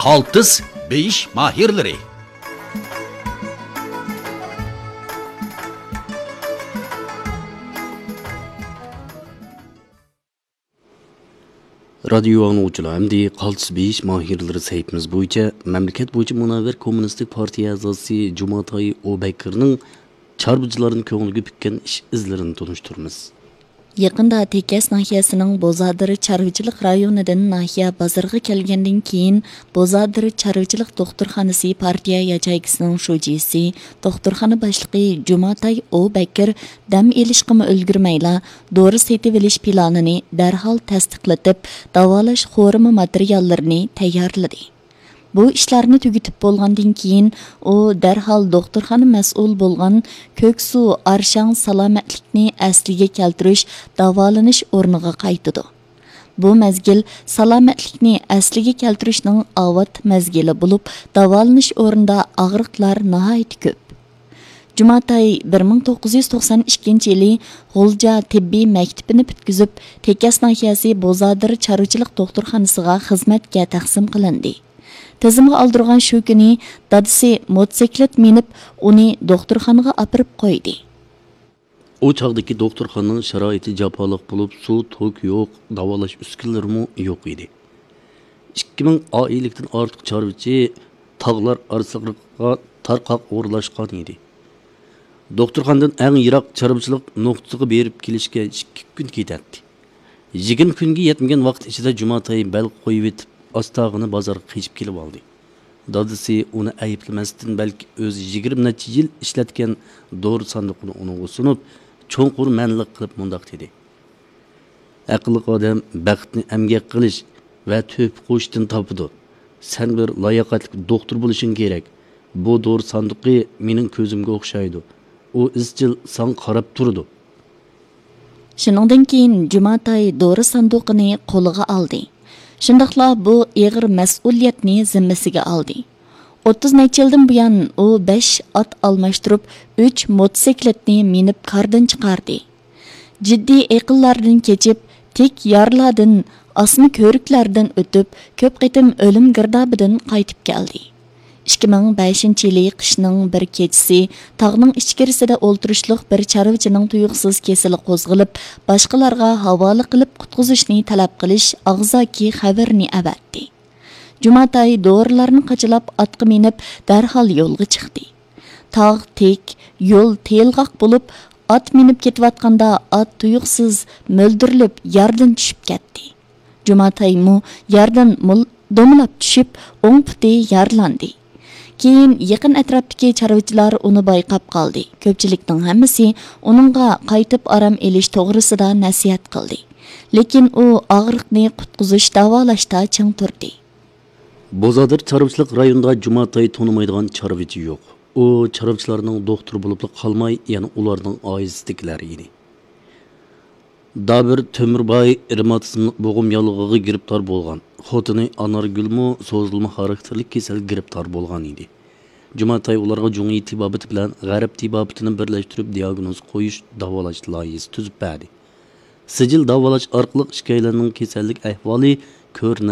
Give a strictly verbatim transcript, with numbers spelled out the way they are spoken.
قالتىس بېيىش ماھىرلىرى. رادىيو ئاڭلىغۇچىلار، ئەمدى قالتىس بېيىش ماھىرلىرى سەھىپىمىز بويىچە مەملىكەت بويىچە مۇنەۋۋەر كوممۇنىستىك پارتىيە ئەزاسى جۇماتاي ئوبەكىرنىڭ چارۋىچىلارنىڭ كۆڭلىگە پۈككەن ئىش ئىزلىرىنى تونۇشتۇرىمىز. يېقىندا تېكەس ناھىيەسىنىڭ بوزادىر چارۋىچىلىق رايونىدىن ناھىيە بازىرىغا كەلگەندىن كېيىن، بوزادىر چارۋىچىلىق دوختۇرخانىسى پارتىيە ياچېيكىسىنىڭ شۇجىسى، دوختۇرخانا باشلىقى جۇماتاي ئوبەكىر دەم ئېلىشقىمۇ ئۈلگۈرمەيلا، دورا سېتىۋېلىش پىلانىنى دەرھال تەستىقلىتىپ، داۋالاش خورىمى ماتېرىياللىرىنى تەييارلىدى. بۇ ئىشلارنى تۈگىتىپ بولغاندىن كېيىن، ئۇ دەرھال دوختۇرخانا مەسئۇل بولغان كۆكسۇ ئارشاڭ سالامەتلىكنى ئەسلىگە كەلتۈرۈش داۋالىنىش ئورنىغا قايتىدۇ. بۇ مەزگىل سالامەتلىكنى ئەسلىگە كەلتۈرۈشنىڭ ئاۋات مەزگىلى بولۇپ، داۋالىنىش ئورنىدا ئاغرىقلار ناھايىتى كۆپ. جۇماتاي بىر مىڭ توققۇز يۈز توقسان ئىككىنچى يىلى غۇلجا تېببىي مەكتىپىنى پۈتكۈزۈپ، تېكەس ناھىيەسى بوزادىر چارۋىچىلىق دوختۇرخانىسىغا خىزمەتكە تەقسىم قىلىندى. تىزىمغا ئالدۇرغان شۇ كۈنى دادىسى موتوسىكلىت مىنىپ، ئۇنى دوختۇرخانىغا ئاپىرىپ قويدى. ئۇ چاغدىكى دوختۇرخانىنىڭ شارائىتى جاپالىق بولۇپ، سۇ، توك يوق، داۋالاش ئۈسكۈنىلىرىمۇ يوق ئىدى. ئىككى مىڭ ئائىلىلىكتىن ئارتۇق چارۋىچى تاغلار ئارىسىغا تارقاق ئورۇنلاشقان ئىدى. دوختۇرخانىدىن ئەڭ يىراق چارۋىچىلىق نۇقتىسىغا بېرىپ كېلىشكە ئىككى كۈن كېتەتتى. يىگىرمە كۈنگە يەتمىگەن ۋاقىت ئىچىدە جۇماتاي بەل قويۇۋېتىپ، ئاستاغىنا بازارغا قېچىپ كېلىۋالدى. دادىسى ئۇنى ئەيىبلىمەستىن، بەلكى ئۆزى يىگىرمە نەچچە يىل ئىشلەتكەن دورا ساندۇقىنى ئۇنىڭغا سۇنۇپ، چوڭقۇر مەنىلىك قىلىپ مۇنداق دېدى: «ئەقىللىق ئادەم بەختنى ئەمگەك قىلىش ۋە تۆھپە قوشۇشتىن تاپىدۇ. سەن بىر لاياقەتلىك دوختۇر بولۇشۇڭ كېرەك. بۇ دورا ساندۇقى مېنىڭ كۆزۈمگە ئوخشايدۇ. ئۇ ئىزچىل ساڭا قاراپ تۇرىدۇ.» شۇنىڭدىن كېيىن جۇماتاي دورا ساندۇقىنى قولىغا ئالدى. شۇنداقلا بۇ ئېغىر مەسئۇلىيەتنى زىممىسىگە ئالدى. ئوتتۇز نەچچە يىلدىن بۇيان ئۇ بەش ئات ئالماشتۇرۇپ، ئۈچ موتوسىكلىتنى مىنىپ كاردىن چىقاردى. جىددىي ئېقىنلاردىن كېچىپ، تىك يارلاردىن، ئاسما كۆۋرۈكلەردىن ئۆتۈپ، كۆپ قېتىم ئۆلۈم گىردابىدىن قايتىپ كەلدى. ئىككى مىڭ بەشىنچى يىلى قىشنىڭ بىر كېچىسى تاغنىڭ ئىچكىرىسىدە ئولتۇرۇشلۇق بىر چارۋىچىنىڭ تۇيۇقسىز كېسىلى قوزغىلىپ، باشقىلارغا ھاۋالە قىلىپ قۇتقۇزۇشنى تەلەپ قىلىش ئاغزاكى خەۋىرىنى ئەۋەتتى. جۇماتاي دورىلارنى قاچىلاپ ئاتقا مىنىپ، دەرھال يولغا چىقتى. تاغ تىك، يول تېيىلغاق بولۇپ، ئات مىنىپ كېتىۋاتقاندا ئات تۇيۇقسىز مۆلدۈرلۈپ ياردىن چۈشۈپ كەتتى. جۇماتايمۇ ياردىن مول-، دومىلاپ چۈشۈپ، ئوڭ پۇتى يارىلاندى. كېيىن يېقىن ئەتراپتىكى چارۋىچىلار ئۇنى بايقاپ قالدى. كۆپچىلىكنىڭ ھەممىسى ئۇنىڭغا قايتىپ ئارام ئېلىش توغرىسىدا نەسىھەت قىلدى. لېكىن ئۇ ئاغرىقنى قۇتقۇزۇش، داۋالاشتا چىڭ تۇردى. بوزادىر چارۋىچىلىق رايونىدا جۇماتاي تونۇمايدىغان چارۋىچى يوق. ئۇ چارۋىچىلارنىڭ دوختۇرى بولۇپلا قالماي، يەنە ئۇلارنىڭ ئائىلىسىدىكىلەر ئىدى. دابىر تۆمۈرباي رېماتىزملىق بوغۇم ياللۇغىغا گىرىپتار بولغان. خوتۇنى ئانارگۈلمۇ سوزۇلما خاراكتېرلىك كېسەلگە گىرىپتار بولغان ئىدى. جۇماتاي ئۇلارغا جۇڭيى تېبابىتى بىلەن غەرب تېبابىتىنى بىرلەشتۈرۈپ، دىئاگنوز قويۇش، داۋالاش لايىھىسى تۈزۈپ بەردى. سىجىل داۋالاش ئارقىلىق ئىككىيلەننىڭ كېسەللىك ئەھۋالى كۆرۈنە